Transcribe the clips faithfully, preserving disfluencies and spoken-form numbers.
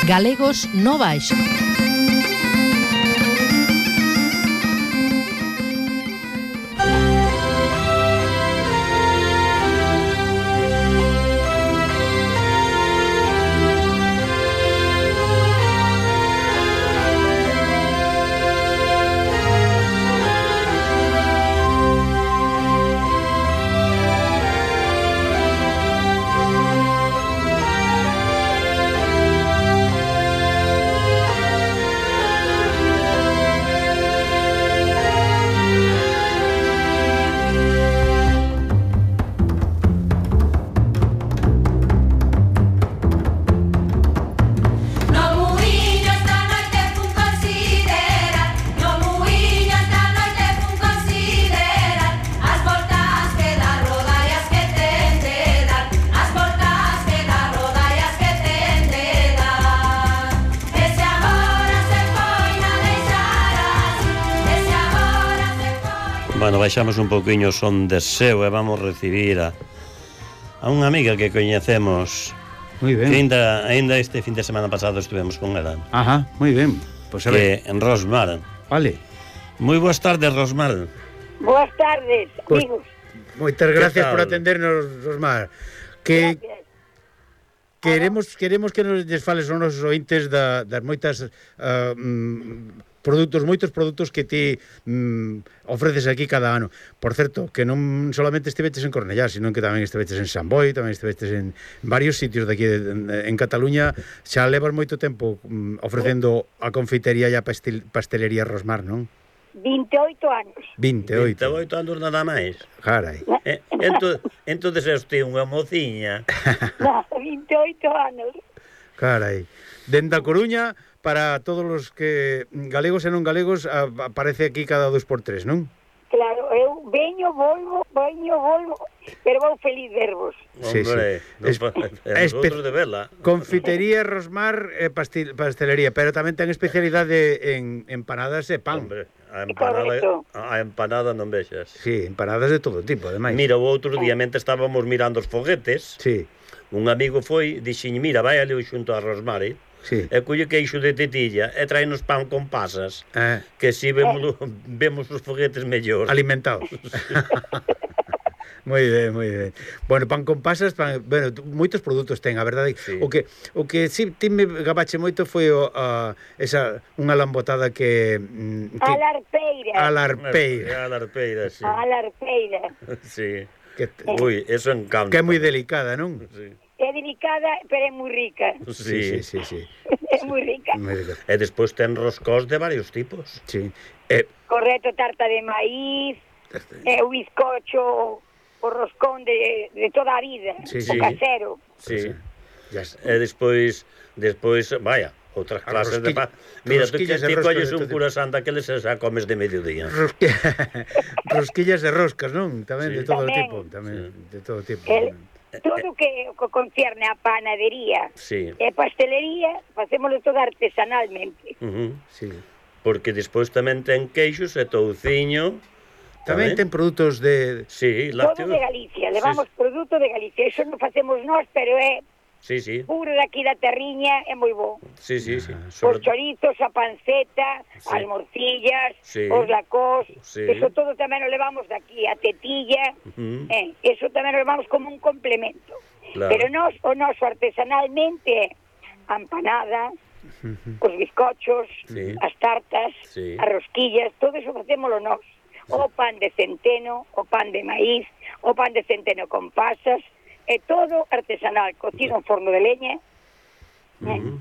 Galegos no Baixo. Bueno, baixamos un poquinho son de seu e vamos recibir a, a unha amiga que coñecemos. Moi ben. Que ainda, ainda este fin de semana pasado estivemos con ela. Ajá, moi ben. Pois a que ver. en Rosmar. Vale. Moi boas tardes, Rosmar. Boas tardes, amigos. Moitas gracias por atendernos, Rosmar. Que Gracias. queremos queremos que nos lles fales aos nosos ointes da, das moitas uh, mm, produtos, moitos produtos que ti mm, ofreces aquí cada ano. Por certo, que non solamente estiveches en Cornellá, sino que tamén estiveches en San Boi, tamén estiveches en varios sitios de aquí de, de, en Cataluña. Xa levas moito tempo mm, ofrecendo a confitería e a pastel, pastelería Rosmar, non? vinte e oito anos. vinte e oito. vinte e oito anos nada máis. Carai. Eh, ento, entonces é usted unha mociña. No, vinte e oito anos. Carai. Dende a Coruña, para todos os que galegos e non galegos, a, aparece aquí cada dos por tres, non? Claro, eu veño, volvo, veño, volvo, pero vou feliz vervos. Sí, Hombre, sí. no, Es, nosotros de vela. Confitería Rosmar e pastil, pastelería, pero tamén ten especialidade en empanadas e pan. Hombre, a empanada, Correcto. a empanada non vexas. Sí, empanadas de todo tipo, ademais. Mira, o outro día mente estábamos mirando os foguetes. Sí, Un amigo foi, dixiñe, mira, vai ali xunto a Rosmar, eh? sí. E colle queixo de tetilla e traenos pan con pasas, Eh, que si vemos, vemos os foguetes mellor. alimentados. Moi ben, moi ben. Bueno, pan con pasas, pan, bueno, moitos produtos ten, a verdade. Sí. O que o que si ti me gabache moito foi o, a, esa unha lambotada que, mm, que A larpeira. a larpeira, A larpeira, sí. A larpeira. Sí. que, Ui, eso encanta. que é moi delicada, non? Sí. É delicada, pero é moi rica. Sí. sí, sí, sí. É moi rica. Moi delicada. E despois ten roscós de varios tipos. Sí. Eh, Correcto, tarta de maíz, é o bizcocho, o roscón de, de toda a vida, Sí, o sí. casero. Sí. ya está. E despois, despois, vaya, outras A clases de rosquilla- pan. Mira, tú que rosquillas de ti roscos colles de un todo curasán daqueles e xa comes de mediodía. Rosqui... Rosquillas e roscas, non? Tamén Sí. de todo Tamén. tipo, tamén de todo tipo. El, todo que, que concierne a panadería Sí. e pastelería, facémoslo todo artesanalmente. Uh -huh. Sí. Porque despois tamén ten queixos e touciño. Tamén ten produtos de Sí, Todo lácteos. de Galicia, levamos produto de Galicia. Eso non facemos nós, pero é Sí, sí. puro daqui da terriña, é moi bo. Sí, sí, sí. Os Sobre... chorizos, a panceta, Sí. as morcillas, Sí. os lacós, Sí. eso todo tamén o levamos daqui, a tetilla, Uh -huh. eh, eso tamén o levamos como un complemento. Claro. Pero nós, o noso artesanalmente é a empanada, os bizcochos, Sí. as tartas, Sí. as rosquillas, todo eso facémolo nós. O pan de centeno, o pan de maíz, o pan de centeno con pasas, é todo artesanal, cocido en forno de leña. Uh -huh.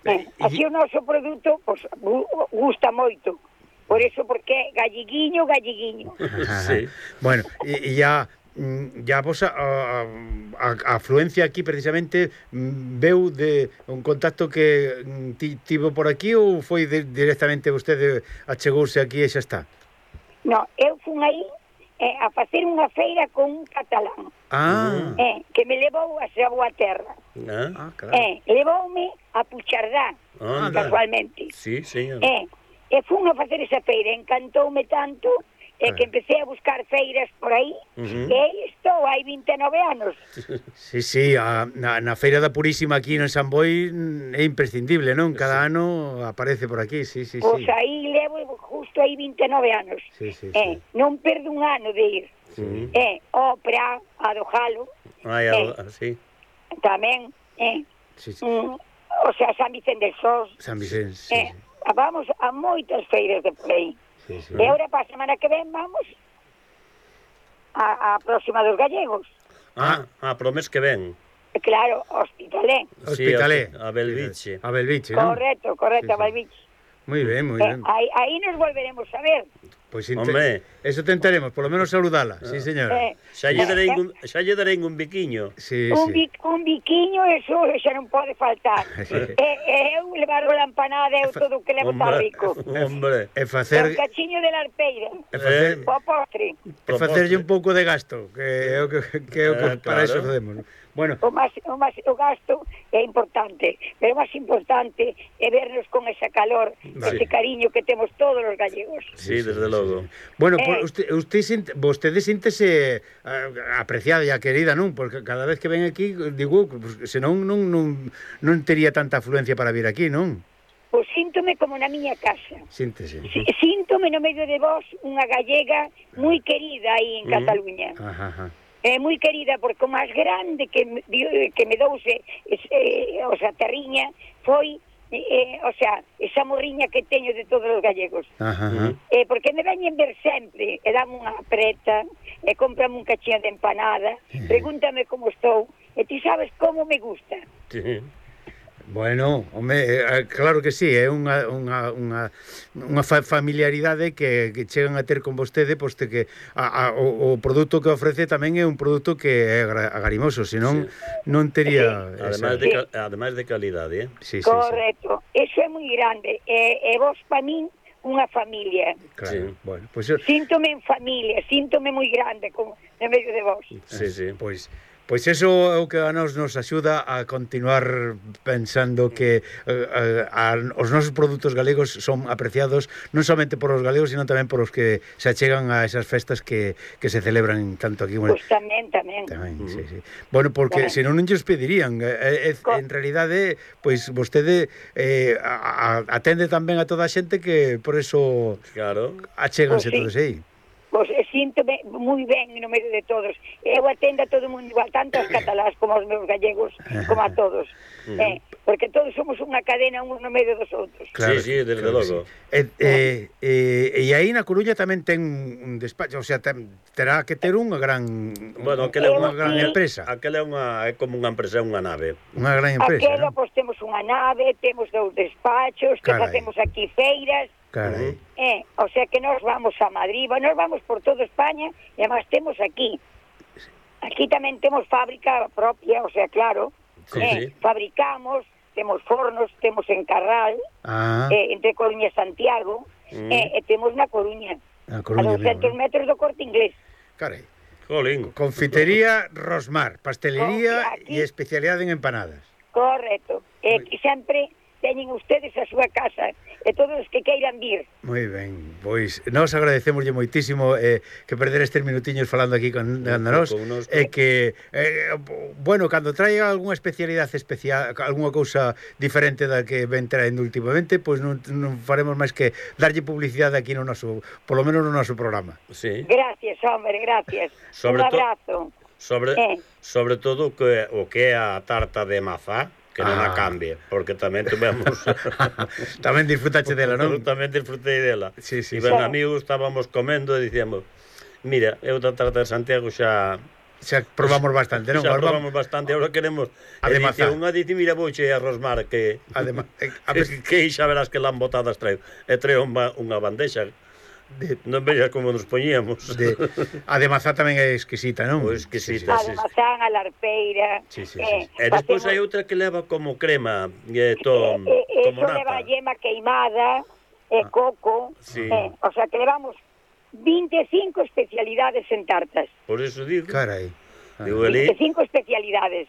Eh, así o noso produto pues, gusta moito. Por eso, porque é galliguiño, galliguiño. Sí. Bueno, e, e ya ya vos a, a, a afluencia aquí precisamente veu de un contacto que ti, tivo por aquí ou foi de, directamente vostede achegouse aquí e xa está? No, eu fun aí eh, a facer unha feira con un catalán Ah, eh, que me levou a súa boa terra. Ah, ah claro. Eh, levoume a Puchardá, anda. casualmente. Sí, señor. Eh, e fun a facer esa feira, encantoume tanto, e que empecé a buscar feiras por aí, Uh -huh. e estou hai vinte e nove anos. Sí, sí, a, na, na Feira da Purísima aquí en San Boi é imprescindible, non? Cada sí. ano aparece por aquí, sí, sí, Pois sí. aí levo justo aí vinte e nove anos. Sí, sí, eh, sí. Non perdo un ano de ir. Sí. Eh, ópera, a do Jalo, Ai, eh, sí. tamén, eh, Sí, sí. mm, o sea, San Vicente del Sos, San Vicente, sí, eh, sí. vamos a moitas feiras de por aí. Sí, sí. E agora para a semana que ven vamos a, a próxima dos gallegos. Ah, ah, pro mes que ven. Claro, Hospitalet. Hospitalet. Sí, a Belviche. A Belviche, non? Correcto, correcto, Sí, sí. a Belviche. Moi ben, moi Eh, ben. aí, aí nos volveremos a ver. Pois Hombre. eso tentaremos, por lo menos saludala. Sí, señora. Eh, Xa lle eh, darei un, xa lle darei un biquiño. Sí, un, sí. bi, un biquiño, eso xa non pode faltar. e, e eu levar a empanada eu todo o que levo está Hombre, rico. hombre. E Un facer cachiño de la arpeira. e facer Eh, O postre. e facerlle un pouco de gasto, que é o que, que, é o que Eh, para claro. eso facemos. Bueno, O máis, o máis, o gasto é importante, pero o máis importante é vernos con esa calor, Vale. ese cariño que temos todos os gallegos. Sí, desde logo. Bueno, Eh. por, usted, usted sinte, vostede síntese uh, apreciada e querida, non? Porque cada vez que ven aquí, digo, pues, senón non, non, non tería tanta afluencia para vir aquí, non? Pois síntome como na miña casa. Síntese. Sí, síntome no medio de vos unha gallega moi querida aí en Mm. Cataluña. Ajá, ajá. É moi querida porque o máis grande que, me- que me douse eh, o sea, terriña foi eh, o sea, esa morriña que teño de todos os gallegos. Ajá, ajá. Eh, porque me veñen ver sempre e dame unha preta e cómprame un cachiño de empanada, pregúntame como estou e ti sabes como me gusta. Sí. Bueno, home, eh, claro que sí, é unha, unha, unha, unha fa familiaridade que, que chegan a ter con vostede, posto que a, a, o, o produto que ofrece tamén é un produto que é agra- agarimoso, senón non tería... Además de, cal- además de calidade, eh? Sí, sí, sí, Correcto, eso é moi grande e, e vos pa min unha familia. claro. Sí. Bueno, pois pues, Síntome en familia, síntome moi grande como no medio de vos. Sí, sí. Pois Pois eso é o que a nos nos axuda a continuar pensando que eh, a, os nosos produtos galegos son apreciados non somente por os galegos, sino tamén por os que se achegan a esas festas que, que se celebran tanto aquí como Pois tamén, tamén. tamén, sí, sí. Bueno, porque Tamén. senón non lles pedirían, eh, eh, Co- en realidade, pois vostede eh, a, a, atende tamén a toda a xente que por eso Claro. achéganse Pois sí. todos aí. Pois eh, síntome moi ben no medio de todos. Eu atendo a todo o mundo igual, tanto aos catalás como aos meus gallegos, como a todos. eh, porque todos somos unha cadena uns no medio dos outros. Sí, sí, desde logo. E, eh, eh, e aí na Coruña tamén ten un despacho, o sea, ten, terá que ter unha gran Bueno, aquela é unha unha gran sí. empresa, Aquela é unha é como unha empresa, é unha nave. unha gran empresa, Aquela, ¿no? pois temos unha nave, temos dous despachos, que Carai. facemos aquí feiras, Carai. eh, o sea que nós vamos a Madrid, nos vamos por toda España, e además temos aquí. Aquí tamén temos fábrica propia, o sea, claro, Sí, eh, sí. fabricamos, temos fornos, temos en Carral, Ah, eh, entre Coruña e Santiago, Mm. eh, e temos na Coruña, a a Coruña doscientos mesmo. metros do Corte Inglés. Carai. Jolín. Confitería Rosmar, pastelería Aquí. e especialidade en empanadas. Correcto. E que sempre teñen ustedes a súa casa e todos os que queiran vir. Moi ben, pois nós agradecemoslle moitísimo eh, que perder estes minutiños falando aquí con nós Con nos. e que eh, bueno, cando traiga algunha especialidade especial, algunha cousa diferente da que ven traendo últimamente, pois non, non faremos máis que darlle publicidade aquí no noso, polo menos no noso programa. Sí. Gracias, hombre, gracias. Sobre Un to- abrazo. Sobre Eh. sobre todo o que o que é a tarta de mazá, que non a Ah. cambie, porque tamén tuvemos Tamén disfrutache dela, non? tamén disfrutei dela. Sí, sí, e sí. ben amigos estábamos comendo e dicíamos, mira, eu da tarta de Santiago xa Xa probamos bastante, non? xa Agora probamos bastante, agora queremos A de e dice, mazá. unha dice, mira, vouche a Rosmar que Además, eh, a que, ver, que xa verás que lambotadas traio. E traio unha, unha bandexa. de, Non veas como nos poñíamos. de, a de mazá tamén é exquisita, non? Pois exquisita. A de mazán, a larpeira. Sí, sí, eh, E despois facemos- hai outra que leva como crema, e to, eh, eh, como eso leva nata. yema queimada, e coco, Sí. eh, o sea que levamos veinticinco especialidades en tartas. Por eso digo, Carai. Ah. digo ali, veinticinco especialidades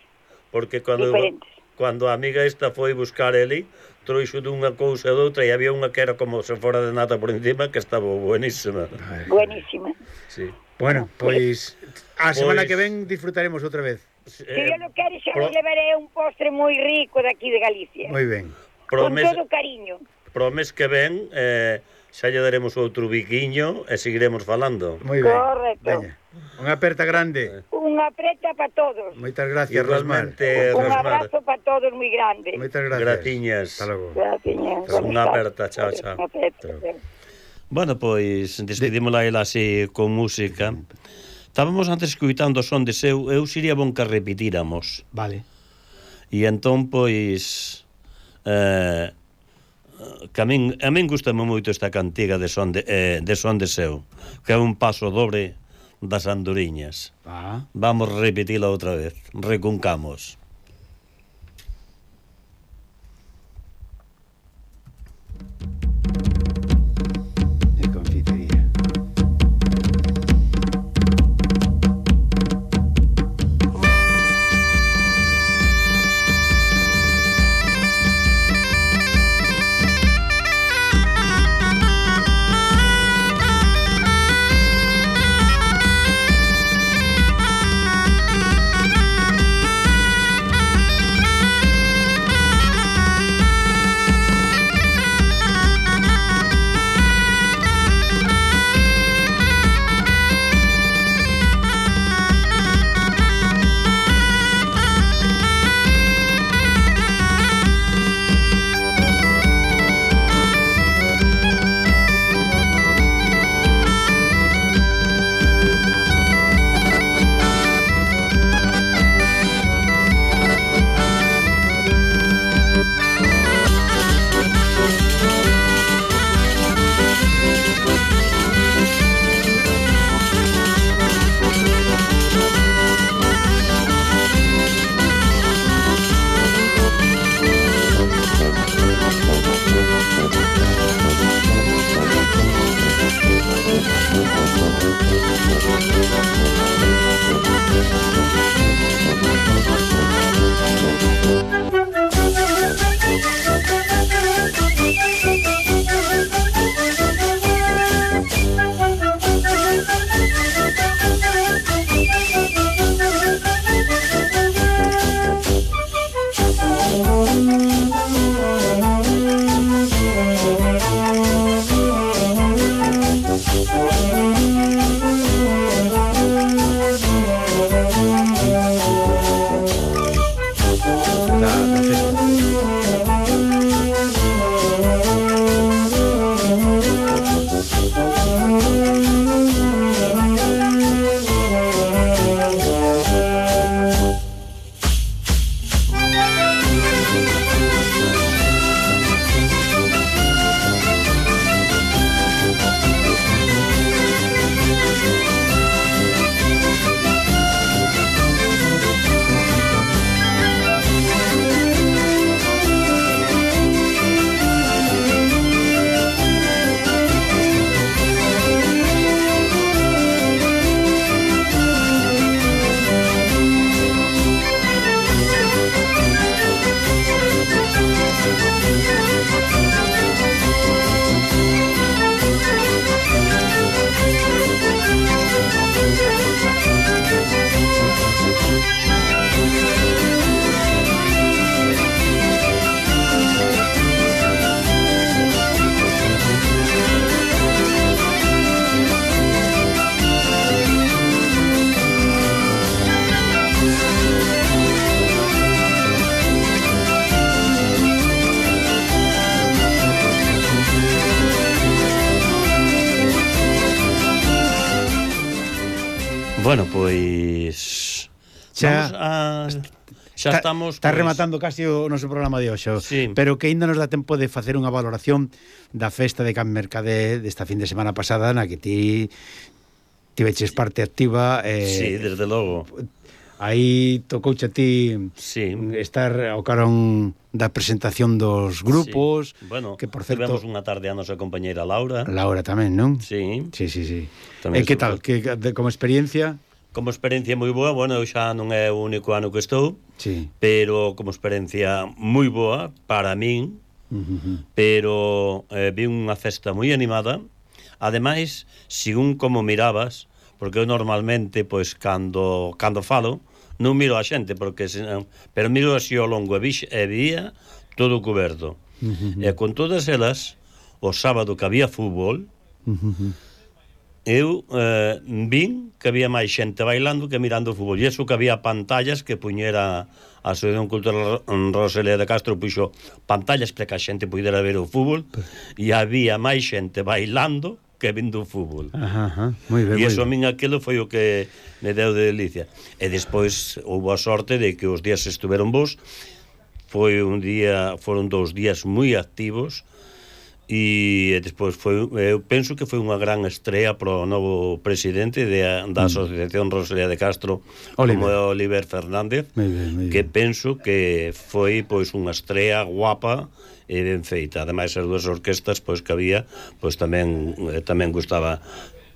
porque cando diferentes. cando a amiga esta foi buscar ele, trouxo dunha cousa e doutra, e había unha que era como se fora de nata por encima, que estaba buenísima. Buenísima. Sí. Bueno, pois a semana Pois- que ven disfrutaremos outra vez. Se yo lo quero, xa pro- vos levaré un postre moi rico de aquí de Galicia. Moi ben. Con Promes, todo cariño. promes que ven, eh, xa lle daremos outro biquiño e seguiremos falando. Moi ben. Correcto. Veña. Unha aperta grande. Unha apreta para todos. Moitas gracias, Rosmar. Igualmente, Un Rosmar. abrazo para todos moi grande. Moitas gracias. Gratiñas. Hasta logo. Gracias. Unha aperta, chao, chao. Unha aperta. Bueno, pois, despedímola ela así con música. Estábamos antes escuitando o son de seu, eu sería bon que repitíramos. Vale. E entón, pois, eh, que a min, a min gustame moito esta cantiga de son de, eh, de son de seu, que é un paso dobre das andoriñas. Va. Vamos a repetila outra vez. Recuncamos. De confitería. Bueno, pois Xa- vamos a xa Ta- estamos Está pois, rematando casi o noso programa de hoxe, Sí. pero que ainda nos dá tempo de facer unha valoración da festa de Can Mercade desta fin de semana pasada, na que ti tiveches parte activa. eh, Sí, desde logo. Aí tocouche a ti Sí. estar ao carón da presentación dos grupos, Sí. Bueno, que por certo tivemos unha tarde a nosa compañeira Laura. Laura tamén, non? Sí. Sí, sí, sí. Tamén E que super- tal? Que de, como experiencia? como experiencia moi boa, bueno, eu xa non é o único ano que estou, sí. pero como experiencia moi boa para min, uh-huh. pero eh, vi unha festa moi animada. Ademais, según como mirabas, porque eu normalmente, pois, cando, cando falo, non miro a xente, porque senón, pero miro así ao longo, e, vi, e vía todo coberto. Uh-huh. E con todas elas, o sábado que había fútbol, uh-huh. eu eh, vin que había máis xente bailando que mirando o fútbol, e iso que había pantallas que puñera a Asociación Cultural Rosalía de Castro, puxo pantallas para que a xente pudera ver o fútbol, e había máis xente bailando que vindo o fútbol. Ajá, ajá. Muy ben, e iso a min aquilo foi o que me deu de delicia. E despois houve a sorte de que os días estuveron bons, foi un día, foron dous días moi activos, e despois foi, eu penso que foi unha gran estrea pro novo presidente de, da Asociación Rosalía de Castro, Oliver. Como é Oliver Fernández, muy bien, muy bien. Que penso que foi pois unha estrea guapa e ben feita. Ademais, as dúas orquestas pois que había, pois tamén eh, tamén gustaba,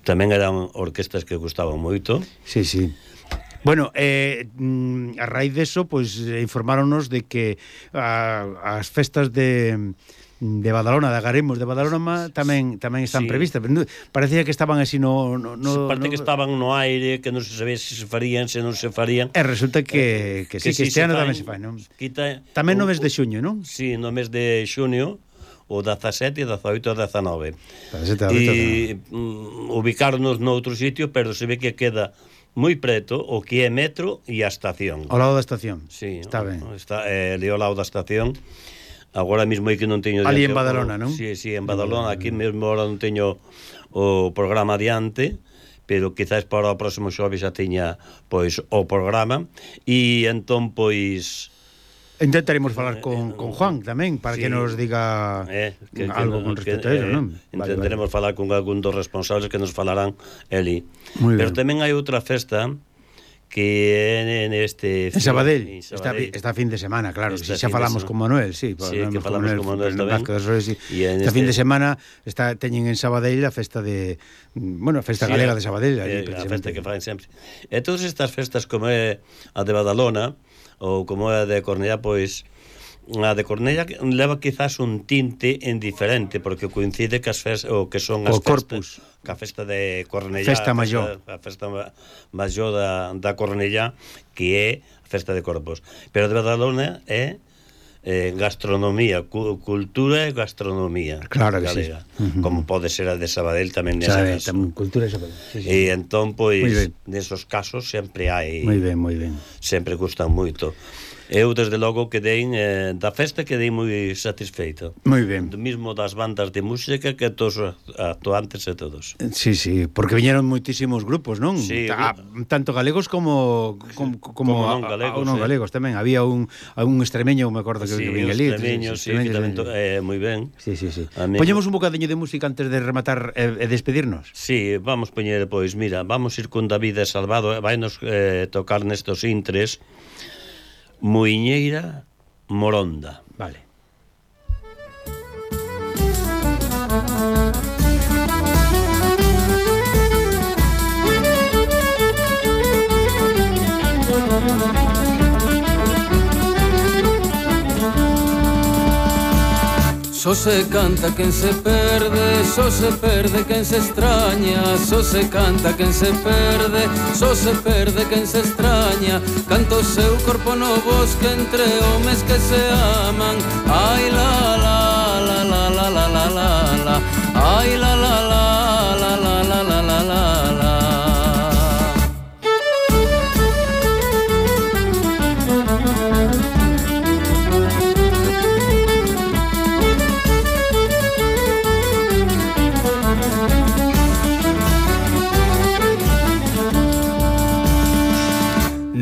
tamén eran orquestas que gustaban moito. Sí, sí. Bueno, eh, a raíz deso, pois informáronos de que a, as festas de de Badalona, de Agaremos de Badalona tamén tamén están sí. previstas, pero parecía que estaban así no, no, no parece no... que estaban no aire, que non se sabía se se farían, se non se farían. E resulta que, que, que sí, que este ano tamén se fai, non? Quita, tamén no mes de xuño, non? Sí, no mes de xuño, o dezasete, dezaoito e dezanove. E um, ubicarnos noutro sitio, pero se ve que queda moi preto o que é metro e a estación. Ao lado da estación. Sí, está ben. Está eh, ali ao lado da estación. Agora mesmo aí que non teño... Ali en Badalona, non? Sí, sí, en Badalona. Aquí mesmo ahora non teño o programa adiante, pero quizás para o próximo xoves xa teña, pois, o programa. E entón, pois... Intentaremos falar con, con Juan tamén, para sí, que nos diga eh, que, algo que, con respecto que, a eso, eh, non? Intentaremos vale, vale. falar con algún dos responsables que nos falarán eli. Muy pero bien. Tamén hai outra festa que en este... En Sabadell, esta, esta fin de semana, claro, si xa falamos con Manuel, sí, sí que falamos con Manuel, con Manuel tamén. Rosales, sí. Esta este... fin de semana está teñen en Sabadell a festa de, bueno, a festa sí, galega de Sabadell, allí, a festa que fan sempre. E todas estas festas como é a de Badalona ou como é a de Cornellá, pois a de Cornellá leva quizás un tinte en diferente, porque coincide que as festas, o que son as o festas, que a festa de Cornellá, festa maior, a festa maior da, da Cornellá, que é a festa de Corpus. Pero de Badalona é eh, gastronomía, cu, cultura e gastronomía. Claro que galega, sí. Uh-huh. Como pode ser a de Sabadell tamén nesa caso. Tamén cultura e Sabadell. Sí, sí. E entón, pois, nesos casos sempre hai... Moi ben, moi ben. Sempre gustan moito. Eu, desde logo, quedei eh, da festa quedei moi satisfeito. Moi ben. Do mismo das bandas de música que todos os actuantes e todos. Sí, sí, porque viñeron moitísimos grupos, non? Sí, Ta, tanto galegos como como, como, como non galegos, a, a, non galegos tamén. Había un, un extremeño, me acordo que sí, vinha ali. Extremeño, sí, sí, tamén eh, moi ben. Sí, sí, sí. Poñemos un bocadiño de música antes de rematar e, e despedirnos. Sí, vamos poñer, pois, mira, vamos ir con David Salvado, vai nos eh, tocar nestos intres Muiñeira Moronda. Vale. Só se canta quen se perde, só se perde quen se extraña, só se canta quen se perde, só se perde quen se extraña. Canta o seu corpo no bosque entre homes que se aman. Ai la la la la la la la la la. Ai la la la la la la la la la la.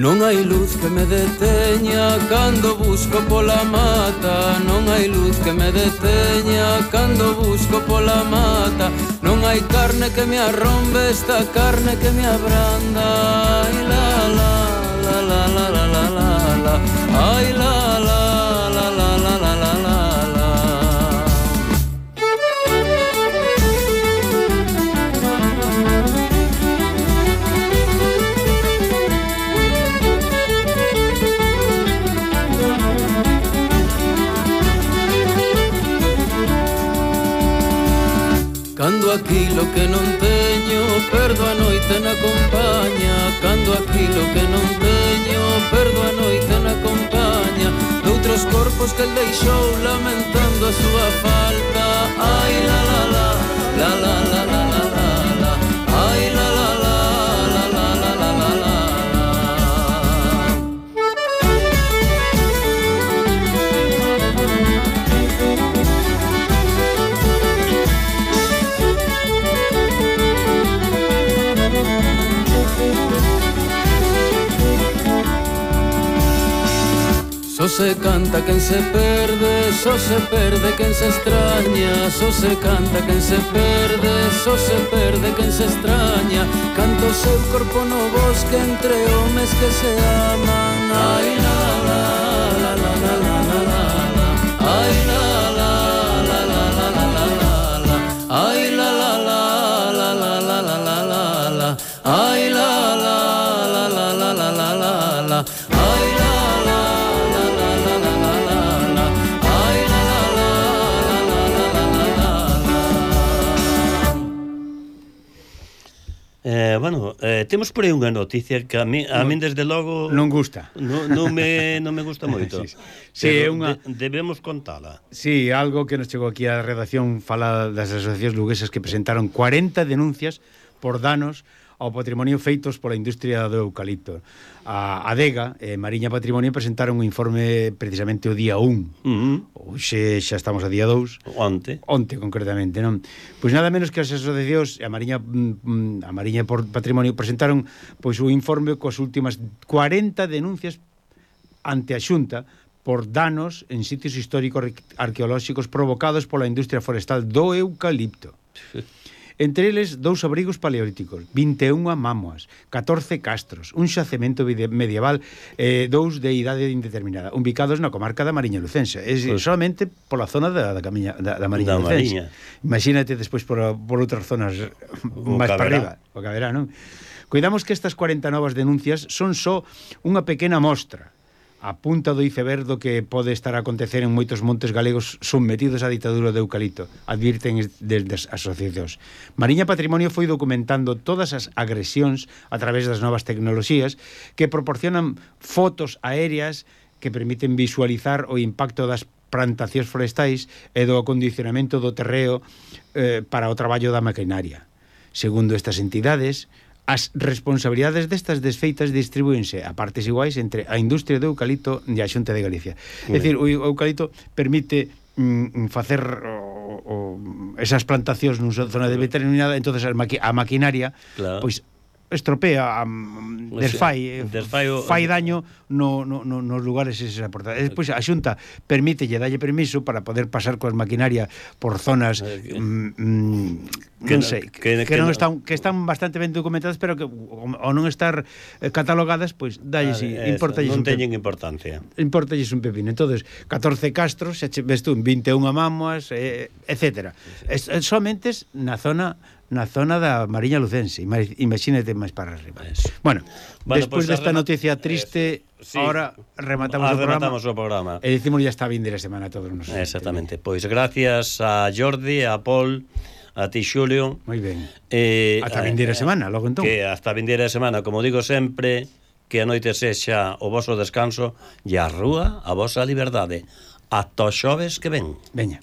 Non hai luz que me deteña cando busco pola mata. Non hai luz que me deteña cando busco pola mata. Non hai carne que me arrombe esta carne que me abranda. Ai la la la la la la la la la. Ai la la la la la la la la la. aquilo que non teño, perdo a noite na compañía. Cando aquilo que non teño, perdo a noite na compañía doutros corpos que el deixou lamentando a súa falta. Ai la la la, la la la la la la la, ai la la la, la la la la la la. Só se canta quen se perde, só se perde quen se extraña. Só se canta quen se perde, só se perde quen se extraña. Canto o seu corpo no bosque entre homes que se aman. Ai la la la la la la la la la, ai la la la la la la la la la, ai la la la la la la la la la la, ai la la la la la la la la la, ai la Eh, bueno, eh, temos por aí unha noticia que a mí, a min desde logo non gusta. Non, non me non me gusta moito. Sí, sí, é unha de, debemos contala. Sí, algo que nos chegou aquí á redacción fala das asociacións luguesas que presentaron cuarenta denuncias por danos ao patrimonio feitos pola industria do eucalipto. A ADEGA e Mariña Patrimonio presentaron un informe precisamente o día un. Uh -huh. Hoxe xa estamos a día dous. Onte. Onte, concretamente, non? Pois nada menos que as asociacións e a Mariña, a Mariña Patrimonio presentaron pois un informe coas últimas cuarenta denuncias ante a Xunta por danos en sitios históricos arqueolóxicos provocados pola industria forestal do eucalipto. Entre eles, dous abrigos paleolíticos, vinte e unha mámoas, catorce castros, un xacemento medieval e eh, dous de idade indeterminada, ubicados na comarca da Mariña Lucense. É pues, solamente pola zona da, da, camiña, da, da Mariña da Lucense. Mariña. Imagínate despois por, por outras zonas máis para arriba, o caberá, non? Cuidamos que estas cuarenta novas denuncias son só unha pequena mostra a punta do iceberg do que pode estar a acontecer en moitos montes galegos submetidos á ditadura do eucalipto, advirten desde as asociacións. Mariña Patrimonio foi documentando todas as agresións a través das novas tecnoloxías que proporcionan fotos aéreas que permiten visualizar o impacto das plantacións forestais e do acondicionamento do terreo eh, para o traballo da maquinaria. Segundo estas entidades, as responsabilidades destas desfeitas distribúense a partes iguais entre a industria do eucalipto e a Xunta de Galicia. É dicir, o eucalipto permite mm, facer o, o, esas plantacións nunha zona determinada, entonces a, maqui, a maquinaria claro. Pois estropea, um, desfai, desfai o, fai daño no, no, no, nos lugares eses aportados. Despois a Xunta permite lle dalle permiso para poder pasar coas maquinaria por zonas mm, mm, que non sei, que, que, que non están que están bastante ben documentadas, pero que ao non estar catalogadas, pois dalle si, ah, importalles non teñen importancia. Importalles un pepino. Entonces, catorce castros, xa ves tú, vinte e unha mámoas, eh, etcétera. Es, somente na zona na zona da Mariña Lucense, imagínate máis para arriba. Eso. Bueno, bueno, despois pues, desta noticia triste, sí, ahora rematamos, o, rematamos programa, o programa. E dicimos ya está vindeira semana a todos nos. Exactamente. Pois pues, gracias a Jordi, a Paul, a ti Xulio. Moi ben. Eh, hasta vindeira eh, semana, logo entón. Que hasta vindeira semana, como digo sempre, que a noite sexa o voso descanso e a rúa a vosa liberdade. Ata os xoves que ven. Veña.